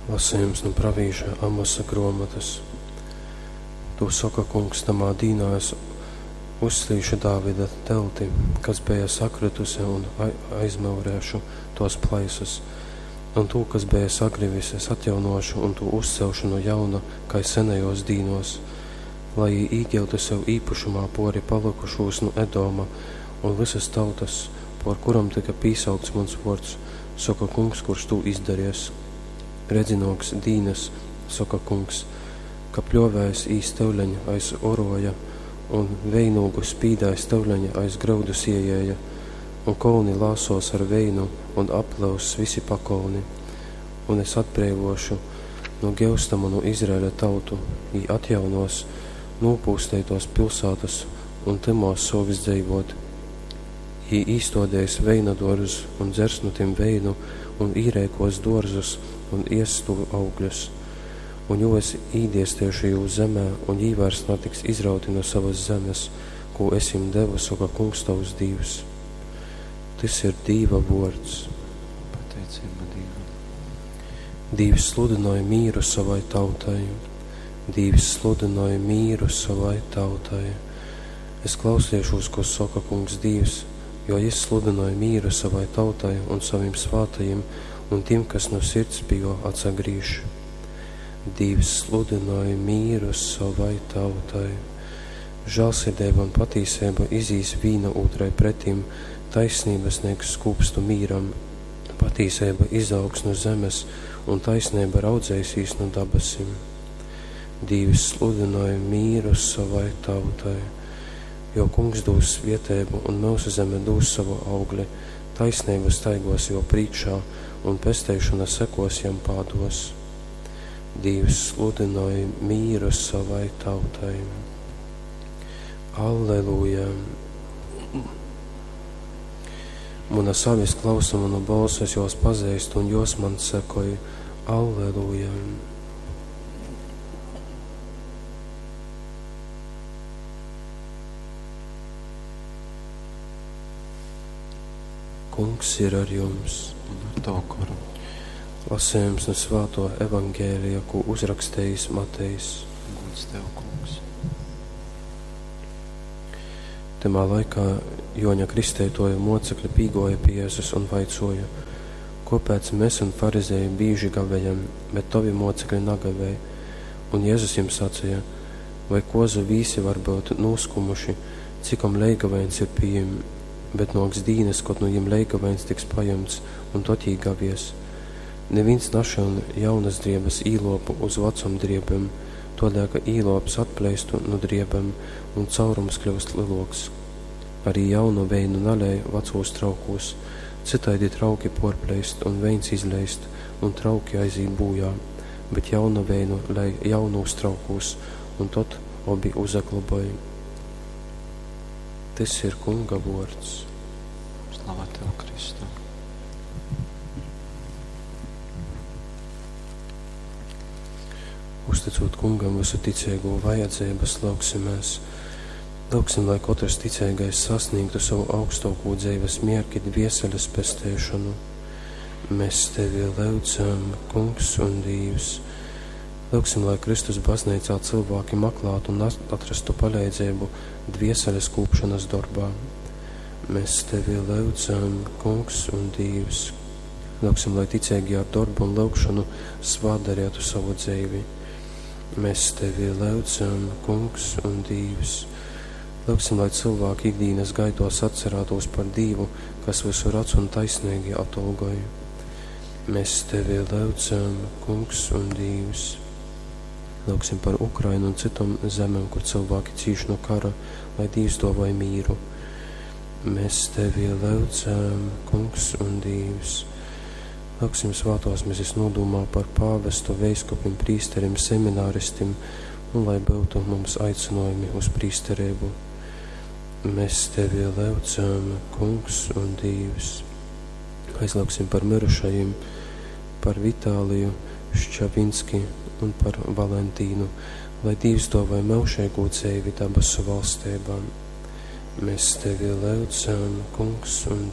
Lasejums nu pravīša Amosa gruomotys. Tū soka Kungs, tamā dīnā es uzslīšu Dāvida telti, kas beja sakrytuse, un aizmyurēšu tōs plaisas. Un tū, kas beja sagrivis, es atjaunōšu un tū uzcelšu nu jauna, kai senejōs dīnōs, lai jī īgyutu sev īpašumā pōri palykušūs nu Edoma un vysas tautas, pōr kurom tyka pīsaukts muns vōrds, soka Kungs, kurš tū izdaries. Redzi, nōks dīnas, soka Kungs, ka pļōvējs īs tyuleņ aiz orōja un veinūgu spīdējs tyuleņ aiz gryudu siejēja, un kolni lāsōs ar veinu un applyuss visi pakolni. Un es atbreivōšu nu gyusta munu Izraeļa tautu, jī atjaunōs nūpūsteitōs pilsātas un tymōs sōks dzeivōt. Jī īstōdeis veina dōrzus un dzers nu tim veinu un īreikōs dōrzus un iess tū augļus. Un jū es īdiesteišu jūs zemē, un jī vairs natiks izrauti nu sovas zemes, kū es jim devu, soka Kungs tovs Dīvs. Tys ir Dīva vōrds. Pateiceiba Dīvam. Dīvs sludynoj mīru sovai tautai. Dīvs sludynoj mīru sovai tautai. Es klausiešūs, ko soka Kungs Dīvs, jo Jys sludynoj mīru sovai tautai un sovim svātajim un tim, kas nu sirds pi Jō atsagrīž. Dīvs sludynoj mīru sovai tautai. Žālsirdeiba un patīseiba izīs vīna ūtrai pretim, taisnība sniegs skūpstu mīram, patīseiba izaugs nu zemes un taisneiba raudzeisīs nu dabasim. Dīvs sludynoj mīru sovai tautai, jo Kungs dūs svieteibu un myusu zeme dūs sovu augli, taisneiba staigos jō prīškā un pesteišona sekos jam pādos. Dīvs sludynoj mīru sovai tautai. Alleluja! Munas avis klausa manu bolsu, es jos pazeistu un jos man sekoj. Alleluja! Kungs ir ar jums. Un ar tavu goru. Lasējums nu svāto evangēlija, ko uzrakstījis Matejs. Gods tev, Kungs. Tymā laikā Joņa Kristeitoja mocekļi pīgoja pie Jēzus un vaicoja, Kopēc mēs un farizēji bīži gavējam, bet tovi mocekļi nagavēj? Un Jēzus jiem sacīja, vai kozu vīsi var būt noskumuši, cikom leigavains ir pie jiem, bet nāks dīnas, kod nu jiem leigavains tiks paņemts, un tot jī gavies. Neviens našaun jaunas driebes īlopu uz vecom driebem, todēļ, ka īlops atpleistu nu driebem, un caurums kļūst lielāks. Arī jaunu veinu nalej vecos traukos, citaidi trauki porpleist un veins izleist, un trauki aizīt bojā, bet jaunu veinu lej jaunūs traukūs, un tot obi uzagloboj. Tys ir Kunga vōrds. Slava tev, Kristu. Uzticot Kungam visu ticīgo vajadzības, lūgsimies. Lūgsim, lai katrs ticīgais sasniegtu savu augstāko dzīves mierki, dvieseles pestēšanu. Mēs tevi lūdzam, Kungs un Dievs. Lūgsim, lai Kristus baznīcā cilvēki meklētu un atrastu palīdzību dvieseles kūpšanas darbā. Mēs tevi lūdzam, Kungs un Dievs. Lūgsim, lai ticīgi ar darbu un lūgšanu svādarītu savu dzīvi. Mēs tevi lūdzam, Kungs un Dievs. Lūgsim, lai cilvēki ikdienas gaitos atcerētos par Dievu, kas visu redz un taisnīgi atalgoja. Mēs tevi lūdzam, Kungs un Dievs. Lūgsim par Ukrainu un citom zemēm, kur cilvēki cīš no kara, lai Dievs dāvāj mīru. Mēs tevi lūdzam, Kungs un Dievs. Lūgsim svētās mises nodomā par pāvestu, veiskupim, prīsterim, semināristim un lai būtu mums aicinājumi uz prīsterību. Mēs tevi lūdzam, Kungs un Dievs. Aizlūgsim par mirušajiem, par Vitāliju Ščavinski un par Valentīnu, lai Dievs dāvāj mūžīgo dzīvi dabasu valstībā. Mēs tevi lūdzam, Kungs un Dievs.